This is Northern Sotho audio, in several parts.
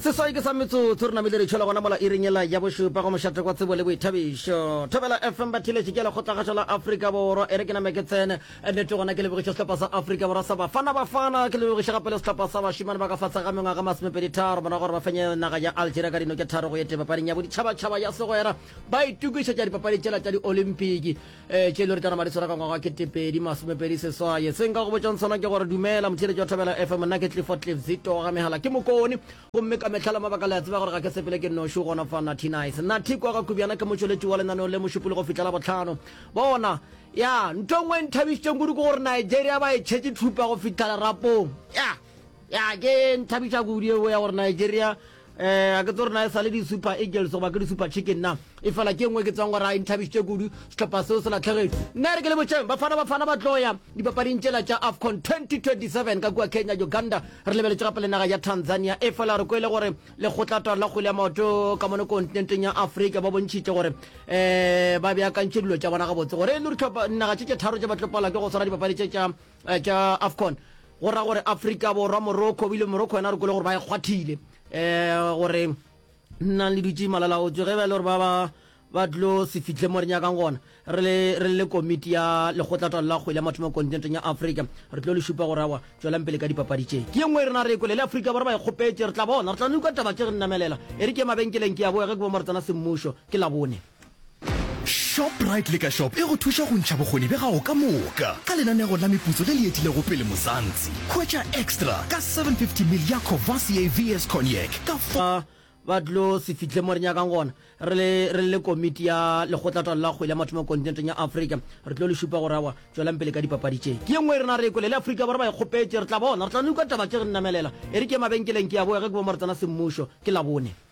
Seswai ke sa metsotso re namile re tšhwela gona mola iring yela ya bošupa go mošate kwa tsebo le boithabišo. Thobela FM batheeletši ke ya lekgotlakgašo la Afrika Borwa. E re ke name ke tsene nnete gona ke lebogiše sehlopha sa Afrika Borwa sa Bafana Bafana, ke lebogiše gape le sehlopha sa bašemane ba ka fase ga mengwaga masomepeditharo morago gore ba fenye naga ya Algeria ka dino tše tharo go ye tee papading ya boditšhabatšhaba ya segwera ba itokišetša dipapadi tšela tša diolimpiki. Ee, tše e le gore tša nama di swara ka ngwaga wa 2028. Se nka go botšang sona ke gore dumela motheeletši wa Thobela FM, nna ke Clifford Cliff Zito wa ga Mehala, ke Mokone, gomme ka mehla le mabaka le a tseba gore ga ke sepele ke nnoši, gona fa Natty Nice. Natty kwa ga Kubjana ke motšweletši wa lenaneo le Mošupologo fihla Labohlano. Bona, ya, ntho e nngwe e nthabišitšeng kudu ke gore Nigeria ba e tšhetše thupa go fihla lerapong. Ya, ya, ke nthabiša kudu yeo ya gore Nigeria Eh, a ke tse gore na e sa le di-super eagles goba ke di-super chicken na e fela ke nngwe ke tsebang gore a e nthabišitše kudu sehlopha seo se latlhegetšwe nna re ke le botšeng bafana bafana ba tlo ya dipapading tšela tša afcon 2027 ka kua kenya uganda re lebeletše gape le naga ya tanzania e fela re kwele gore lekgotlatwalo la kgwele ya maoto ka mono kontinenteng ya afrika ba bontšhitše gore um ba beakantše dilo tša bona gabotse gore e le gore naga tše tše tharo tše ba tlo palwa ke go swara dipapadi tše tša eh, tša afcon go ra gore afrika borwa morocco ebile morocco yona re kwele gore ba e kgwathile um gore nnang le dutše malalaotswe ge ba e le gore ba ba ba tlo se fihle mo re nyakang gona re le re le komiti ya lekgotlatalo la kgwele ya mathomo kontinenteng ya afrika re tlo le šupa gore awa tswelang pele ka dipapadi tše ke ye nngwe e rena re e kwele le afrika borwa ba e kgopetše re tla bona re tla no kwa taba tše re nnamelela e re ke mabenkeleng ke ya boya ge ke bo mo re tsena semmušo ke labone Shoprite Liquor Shop e go thuša go ntšha bokgoni bja gago ka moka ka lenanego la meputso le le etilego pele Mzansi. Hwetša Extra ka 750 ml ya Courvoisier VS Cognac ka Ba ba tlo se fihle mo re nyakang gona. Re le re le komiti ya lekgotlatalo la kgwele ya mathomo kontinenteng ya Afrika, re tlo le šupa gore aowa, tšwelang pele ka dipapadi tše. Ke ye nngwe e rena re e kwele, le Afrika Borwa ba e kgopetše. Re tla bona, re tla no kwa taba tše re namelela. E re ke ye mabenkeleng ke ya boya ge ke bo mo re tsena semmušo. Ke Labone.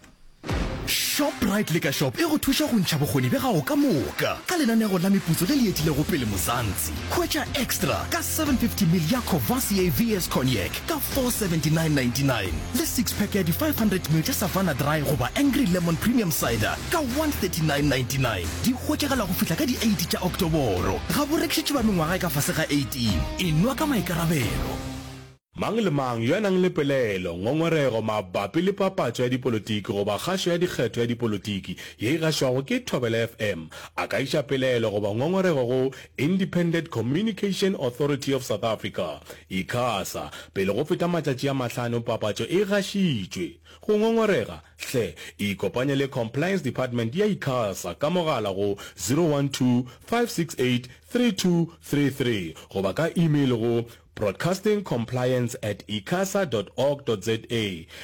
Shoprite Liquor Shop e go thuša go ntšha bokgoni bja gago ka moka ka lenanego la meputso le le etilego pele Mzansi. Hwetša Extra ka 750 ml ya Courvoisier VS Cognac ka 479.99 le six pack ya di 500 ml tša Savanna Dry goba Angry Lemon Premium Cider ka 139.99. Di hwetšagala go fihla ka di 8 tša Oktoboro. Ga bo rekišetšwe ba mengwaga e ka fase ga 18. Enwa ka maikarabelo. Mang le mang yo a nang le pelaelo, ngongorego mabapi le papatšo ya dipolotiki goba kgašo ya dikgetho ya dipolotiki ye e gašwago ke Thobela FM a ka iša pelaelo goba ngongorego go Independent Communication Authority of South Africa, ICASA, pele go feta matšatši a mahlano papatšo e gašitšwe. Go ngongorega, hle ikopanye le Compliance Department ya ICASA ka mogala go 012 568 3233 goba ka email go Broadcasting Compliance at icasa dot org dot za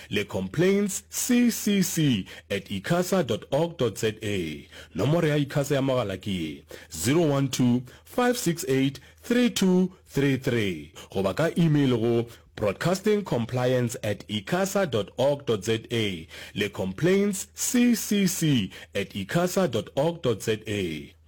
le Complaints CCC at icasa dot org dot za. Nomoro ya ICASA ya mogala ke ye, 012 568 3233 goba ka email go broadcastingcompliance at icasa dot org dot za le Complaints CCC at icasa dot org dot za.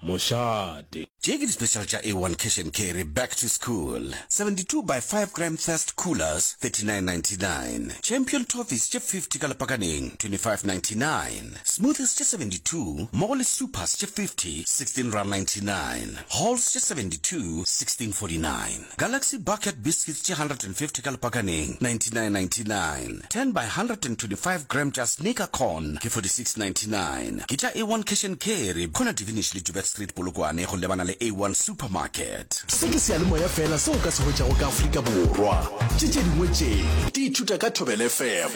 Mošate. Tše ke di-special tša A1 Cash and Carry Back to School, 72 by 5 gram Thirst Coolers, 39.99, Champion Toffees tše 50 ka lepakaneng, 25.99, Smoothies tše 72 mmogo le Supers tše 50, 16.99, Halls tše 72, 16.49. Galaxy Bucket Biscuits tše 150 ka lepakaneng, 99.99. 10 by 125 gram tša Sneaker Corn ke 46.99. Ke tša A1 Cash and Carry, Corner Divinish le Joubert Street Polokwane go lebana le A1 Supermarket. Se ke seyalemoya feela seo o ka se hwetšago ka Afrika Borwa. Tše tše dingwe tše di ithuta ka Thobela FM.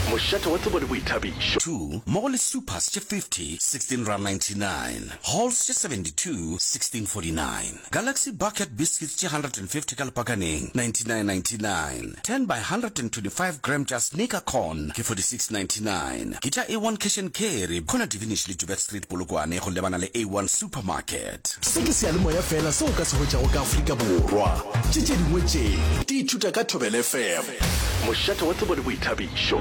Mošate wa tsebo le boithabišo. 2 mmogo le Supers tše 50, 16.99. Halls tše 72, 16.49. Galaxy Bucket Biscuits tše 150 ka lepakaneng, 99.99. 10 by 125 gram tša Sneaker Corn ke 46.99. Ke tša A1 Cash and Carry, Corner Divinish le Joubert Street Polokwane go lebana le A1 Supermarket. Se ke seyalemoya feela seo o ka se hwetšago ka Afrika Borwa. Tše tše dingwe tše di ithuta ka Thobela FM. Mošate wa tsebo le boithabišo.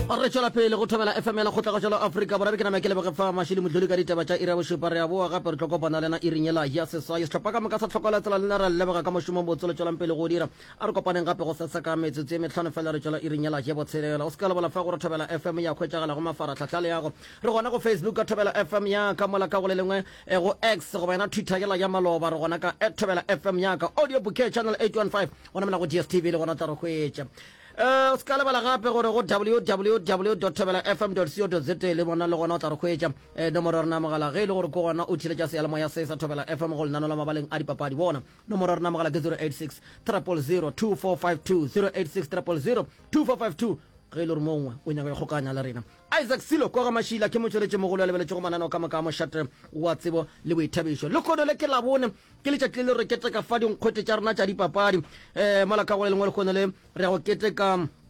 Re tšwela pele go Thobela FM ya Lekgotlakgašo la Afrika Borwa. Be ke nama ke leboge fa Mashilo Motloli ka ditaba tša iri ya bošupa. Re a boa gape re tlo kopana le yena iring yela ya seswai. Sehlopha ka moka sa Tlhokolo ya Tsela le nna re a le leboga ka mošomo o mobotse le tšwelang pele go o dira. A re kopaneng gape gosasa ka metsotso ye mehlano fela re tšwela iring yela ya botshelela. O se ka lebala fa gore Thobela FM ya hwetšagala go mafarahlahla a leago. Re gona go Facebook ka Thobela FM ya ka mola ka go le lengwe eh, go X goba yona Twitter yela ya maloba re gona ka at Thobela FM ya ka. Audio Bouquet Channel 815 gona mola go DSTV le gona o tla re hwetša. Um o se ka lebala gape gore go www thobela fm co za le bona le gona o tla re hwetša. Um nomoro ya rena ya mogala ge e le gore ke gona o theletša seyalemoya se sa Thobela FM go lenano la mabaleng a dipapadi. Bona, nomoro ya rena ya mogala ke 086 000 2452, 086 000 2452 ge e le gore mongwe o nyaka go ikgokanya le rena. Isaac Silo kwa ga Mašila ke motšweletši mogolo ya lebeletšego mananeo ka moka a mošate wa tsebo le boithabišo. Lehono le ke Labone, ke letšatši le le re keteka fa dinkgwete tša rena tša dipapadi. Um mola ka go le lengwe lehono le re ya go keteka.